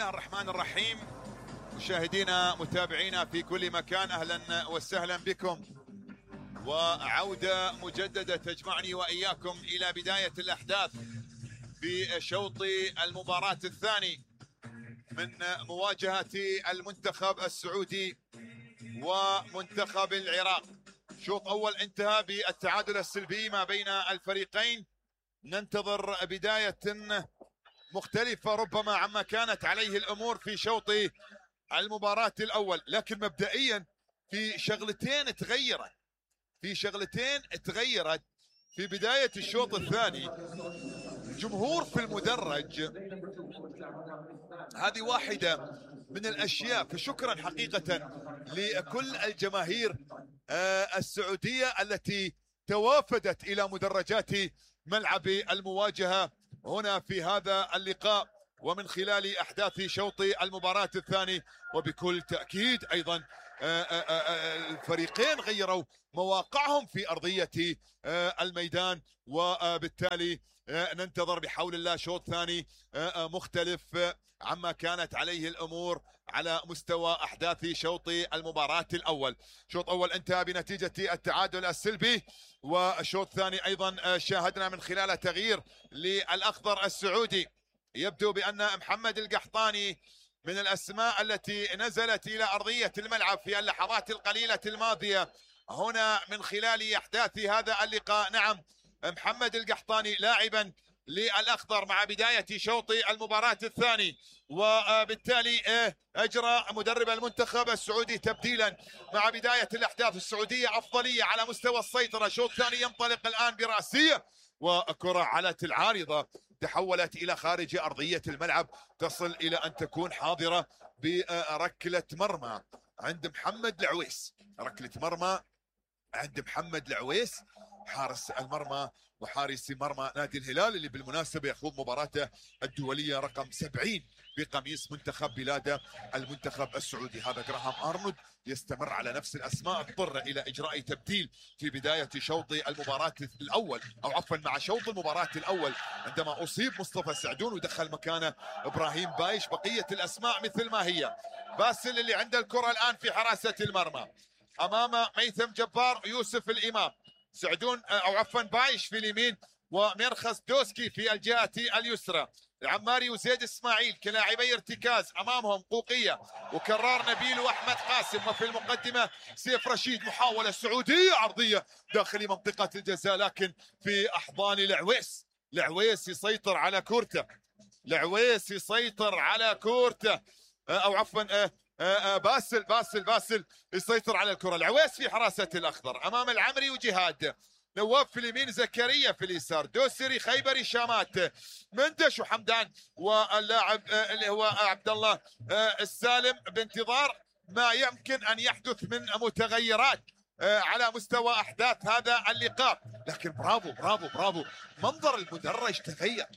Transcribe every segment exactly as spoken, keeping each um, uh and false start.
الله الرحمن الرحيم. مشاهدينا متابعينا في كل مكان، اهلا وسهلا بكم، وعودة مجددة تجمعني واياكم الى بداية الاحداث في شوط المباراة الثاني من مواجهة المنتخب السعودي ومنتخب العراق. شوط اول انتهى بالتعادل السلبي ما بين الفريقين. ننتظر بداية مختلفة ربما عما كانت عليه الامور في شوط المباراة الاول، لكن مبدئيا في شغلتين تغيرت في شغلتين تغيرت في بداية الشوط الثاني. الجمهور في المدرج، هذه واحدة من الاشياء، فشكرا حقيقة لكل الجماهير السعودية التي توافدت الى مدرجات ملعب المواجهة هنا في هذا اللقاء ومن خلال احداث شوط المباراة الثاني. وبكل تأكيد ايضا الفريقين غيروا مواقعهم في ارضية الميدان، وبالتالي ننتظر بحول الله شوط ثاني مختلف عما كانت عليه الامور على مستوى احداث شوط المباراة الاول. شوط اول انتهى بنتيجة التعادل السلبي، وشوط ثاني ايضا شاهدنا من خلال تغيير للاخضر السعودي. يبدو بان محمد القحطاني من الاسماء التي نزلت الى ارضية الملعب في اللحظات القليلة الماضية هنا من خلال احداث هذا اللقاء. نعم، محمد القحطاني لاعبا للاخضر مع بداية شوط المباراة الثاني، وبالتالي اجرى مدرب المنتخب السعودي تبديلا مع بداية الاحداث. السعودية افضلية على مستوى السيطرة. شوط ثاني ينطلق الان براسية، وكرة علت العارضة تحولت الى خارج ارضية الملعب، تصل الى ان تكون حاضرة بركلة مرمى عند محمد العويس. ركلة مرمى عند محمد العويس حارس المرمى وحارس مرمى نادي الهلال، اللي بالمناسبة يخوض مباراته الدولية رقم سبعين بقميص منتخب بلاده المنتخب السعودي. هذا جراهام أرنولد يستمر على نفس الأسماء، اضطر إلى إجراء تبديل في بداية شوط المباراة الأول، أو عفوا مع شوط المباراة الأول عندما أصيب مصطفى سعدون ودخل مكانه إبراهيم بايش. بقية الأسماء مثل ما هي. باسل اللي عنده الكرة الآن في حراسة المرمى أمام ميثم جبار، يوسف الإمام، سعدون او عفوا بايش في اليمين، ومرخص دوسكي في الجهة اليسرى. العماري وزيد اسماعيل كلاعبي ارتكاز، امامهم قوقية وكرار نبيل واحمد قاسم، وفي المقدمة سيف رشيد. محاولة سعودية عرضية داخل منطقة الجزاء، لكن في احضان العويس. العويس يسيطر على كورته، العويس يسيطر على كورته او عفوا باسل باسل باسل يسيطر على الكرة. العويس في حراسة الأخضر أمام العمري وجهاد، نواف في اليمين، زكريا في اليسار، دوسري، خيبري، شامات، مندش وحمدان، واللاعب اللي هو عبد الله السالم، بانتظار ما يمكن أن يحدث من متغيرات على مستوى أحداث هذا اللقاء. لكن برافو برافو برافو، منظر المدرج تغير.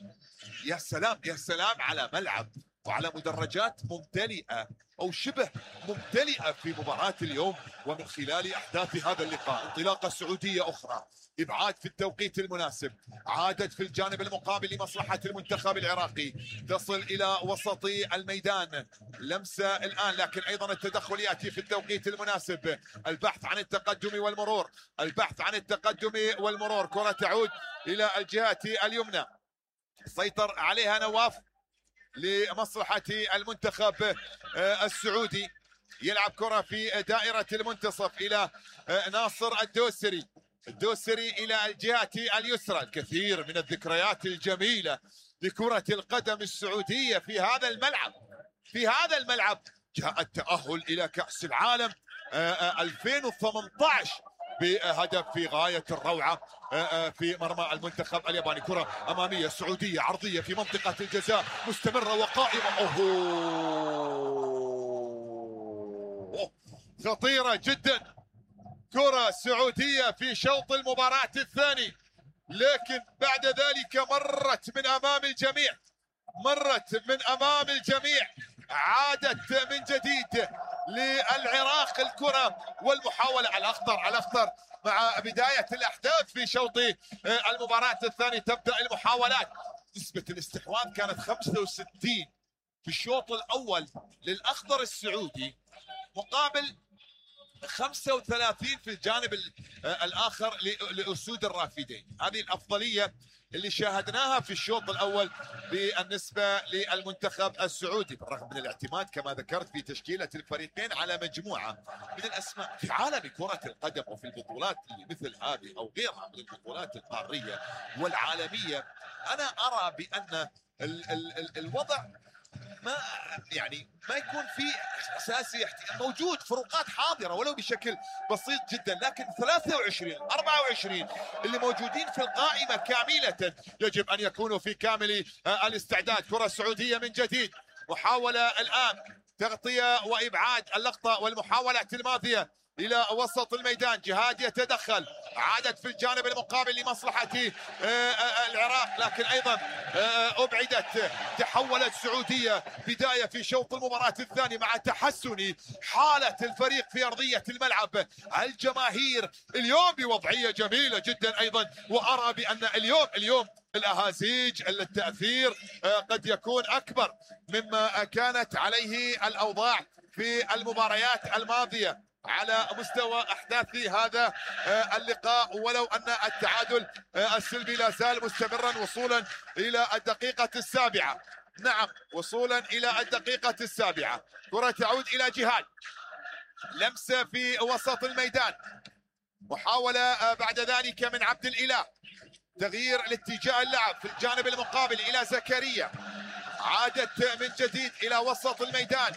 يا سلام يا سلام على ملعب وعلى مدرجات ممتلئة أو شبه ممتلئة في مباراة اليوم. ومن خلال أحداث هذا اللقاء انطلاقة سعودية أخرى، إبعاد في التوقيت المناسب، عادت في الجانب المقابل لمصلحة المنتخب العراقي، تصل إلى وسط الميدان. لمسة الآن، لكن أيضا التدخل يأتي في التوقيت المناسب. البحث عن التقدم والمرور، البحث عن التقدم والمرور. كرة تعود إلى الجهة اليمنى، سيطر عليها نواف لمصلحة المنتخب السعودي. يلعب كرة في دائرة المنتصف إلى ناصر الدوسري، الدوسري إلى الجهة اليسرى. الكثير من الذكريات الجميلة لكرة القدم السعودية في هذا الملعب. في هذا الملعب جاء التأهل إلى كأس العالم ألفين وثمانية عشر بهدف في غاية الروعة في مرمى المنتخب الياباني. كرة أمامية سعودية عرضية في منطقة الجزاء، مستمرة وقائمة. أوه، خطيرة جدا. كرة سعودية في شوط المباراة الثاني، لكن بعد ذلك مرت من أمام الجميع، مرت من أمام الجميع. عادت من جديد للعراق الكرة والمحاولة على الأخضر على الأخضر مع بداية الأحداث في شوط المباراة الثاني. تبدأ المحاولات، نسبة الاستحواذ كانت خمسة وستين في الشوط الاول للاخضر السعودي مقابل خمسة وثلاثين في الجانب الاخر لاسود الرافدين. هذه الافضليه اللي شاهدناها في الشوط الاول بالنسبه للمنتخب السعودي، بالرغم من الاعتماد كما ذكرت في تشكيله الفريقين على مجموعه من الاسماء في عالم كره القدم وفي البطولات اللي مثل هذه او غيرها من البطولات القاريه والعالميه. انا ارى بان ال ال ال الوضع ما يعني ما يكون في اساسي موجود، فروقات حاضره ولو بشكل بسيط جدا، لكن ثلاثة وعشرين أربعة وعشرين اللي موجودين في القائمه كامله يجب ان يكونوا في كامل الاستعداد. كره سعوديه من جديد، محاوله الان تغطيه وابعاد اللقطه والمحاولات الماضيه الى وسط الميدان. جهاد يتدخل، عادت في الجانب المقابل لمصلحه العراق، لكن ايضا ابعدت. تحولت سعوديه بدايه في شوط المباراه الثاني مع تحسن حاله الفريق في ارضيه الملعب. الجماهير اليوم بوضعيه جميله جدا ايضا، وارى بان اليوم اليوم الاهازيج التاثير قد يكون اكبر مما كانت عليه الاوضاع في المباريات الماضيه على مستوى احداث هذا اللقاء، ولو ان التعادل السلبي لا زال مستمرا وصولا الى الدقيقه السابعه. نعم، وصولا الى الدقيقه السابعه. كره تعود الى جهاد، لمسه في وسط الميدان، محاوله بعد ذلك من عبد الاله، تغيير لاتجاه اللعب في الجانب المقابل الى زكريا، عادت من جديد الى وسط الميدان،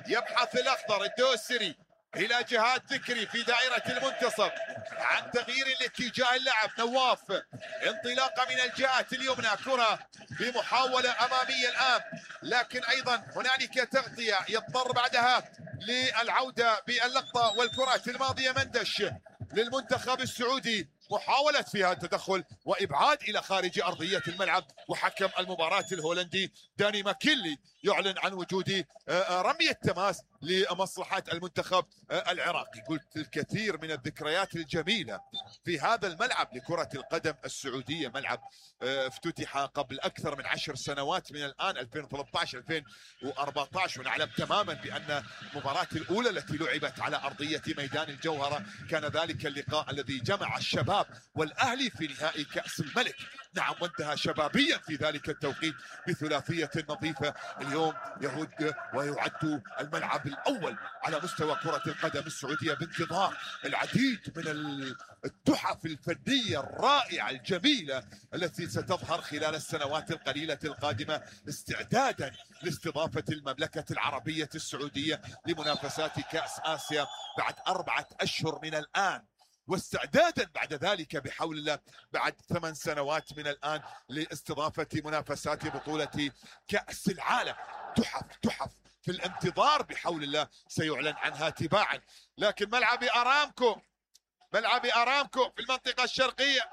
يبحث الاخضر الدوسري الى جهاد ذكري في دائره المنتصف عن تغيير لاتجاه اللعب. نواف انطلاقه من الجهه اليمنى، كره بمحاوله اماميه الان، لكن ايضا هنالك تغطيه يضطر بعدها للعوده باللقطه والكرات الماضيه. مندش للمنتخب السعودي، محاولة فيها التدخل وإبعاد إلى خارج أرضية الملعب، وحكم المباراة الهولندي داني ماكيلي يعلن عن وجود رمية تماس لمصلحة المنتخب العراقي. قلت الكثير من الذكريات الجميلة في هذا الملعب لكرة القدم السعودية، ملعب افتتح قبل أكثر من عشر سنوات من الآن، ألفين وثلاثة عشر ألفين وأربعة عشر، ونعلم تماما بأن المباراة الأولى التي لعبت على أرضية ميدان الجوهرة كان ذلك اللقاء الذي جمع الشباب والأهلي في نهائي كأس الملك. نعم، وانتهى شبابيا في ذلك التوقيت بثلاثية نظيفة. اليوم يهد ويعد الملعب الأول على مستوى كرة القدم السعودية بانتظار العديد من التحف الفنية الرائعة الجميلة التي ستظهر خلال السنوات القليلة القادمة، استعدادا لاستضافة المملكة العربية السعودية لمنافسات كأس آسيا بعد أربعة أشهر من الآن، واستعدادا بعد ذلك بحول الله بعد ثمان سنوات من الآن لاستضافة منافسات بطولة كأس العالم. تحف تحف في الانتظار بحول الله سيعلن عنها تباعا. لكن ملعب أرامكو، ملعب أرامكو في المنطقة الشرقية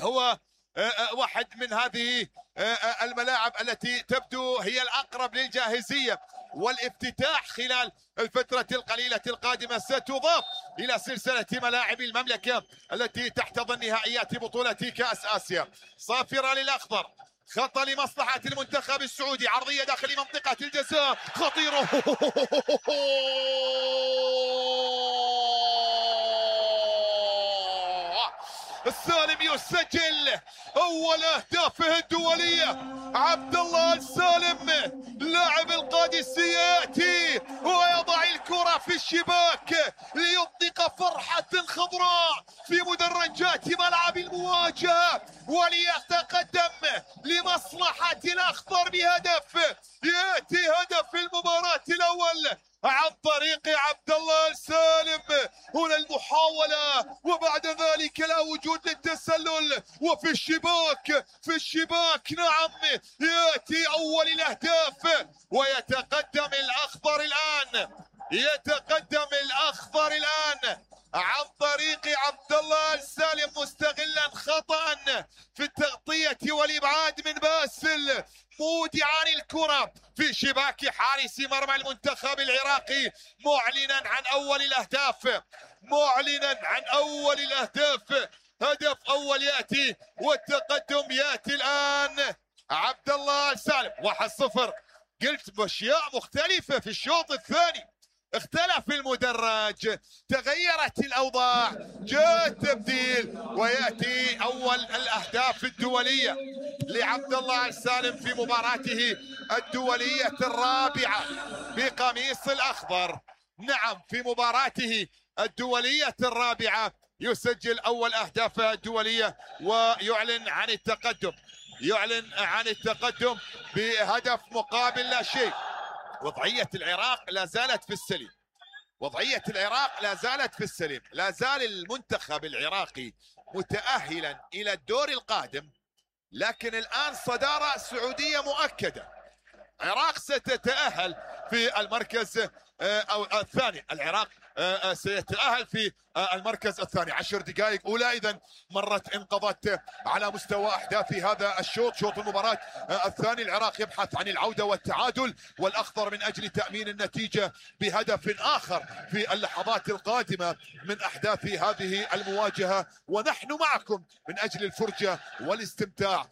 هو واحد من هذه الملاعب التي تبدو هي الأقرب للجاهزية والافتتاح خلال الفترة القليلة القادمة. ستضاف إلى سلسلة ملاعب المملكة التي تحتضن نهائيات بطولة كأس آسيا. صافرة للأخضر، خطأ لمصلحة المنتخب السعودي، عرضية داخل منطقة الجزاء خطيرة. السالم يسجل اول اهدافه الدوليه. عبد الله السالم لاعب القادسيه ياتي ويضع الكره في الشباك ليطلق فرحه خضراء في مدرجات ملعب المواجهه وليتقدم لمصلحه الاخضر بهدف. ياتي هدف المباراه الاول عن طريق عبد الله السالم. هنا المحاولة وبعد ذلك لا وجود للتسلل، وفي الشباك في الشباك نعم يأتي أول الأهداف ويتقدم الأخضر الآن. يتقدم الأخضر الآن عن طريق عبد الله السالم مستغلا خطأ في التغطية والإبعاد من باسل، مودعا الكرة في شباك حارس مرمى المنتخب العراقي، معلنا عن أول الأهداف، معلنا عن أول الأهداف. هدف أول يأتي والتقدم يأتي الآن. عبد الله السالم واحد صفر قلت باشياء مختلفه في الشوط الثاني، اختلف المدرج، تغيرت الاوضاع، جاء التبديل، وياتي اول الاهداف الدوليه لعبد الله السالم في مباراته الدوليه الرابعه بقميص الاخضر. نعم، في مباراته الدوليه الرابعه يسجل اول اهدافه الدوليه ويعلن عن التقدم، يعلن عن التقدم بهدف مقابل لا شيء. وضعية العراق لا زالت في السليم، وضعية العراق لا زالت في السليم، لا زال المنتخب العراقي متأهلا إلى الدور القادم، لكن الآن صدارة سعودية مؤكدة. العراق ستتأهل في المركز أو الثاني، العراق سيتأهل في المركز الثاني. عشر دقائق أولى إذا مرت انقضت على مستوى أحداث هذا الشوط، شوط المباراة الثاني. العراق يبحث عن العودة والتعادل والأخضر من أجل تأمين النتيجة بهدف آخر في اللحظات القادمة من أحداث هذه المواجهة، ونحن معكم من أجل الفرجة والاستمتاع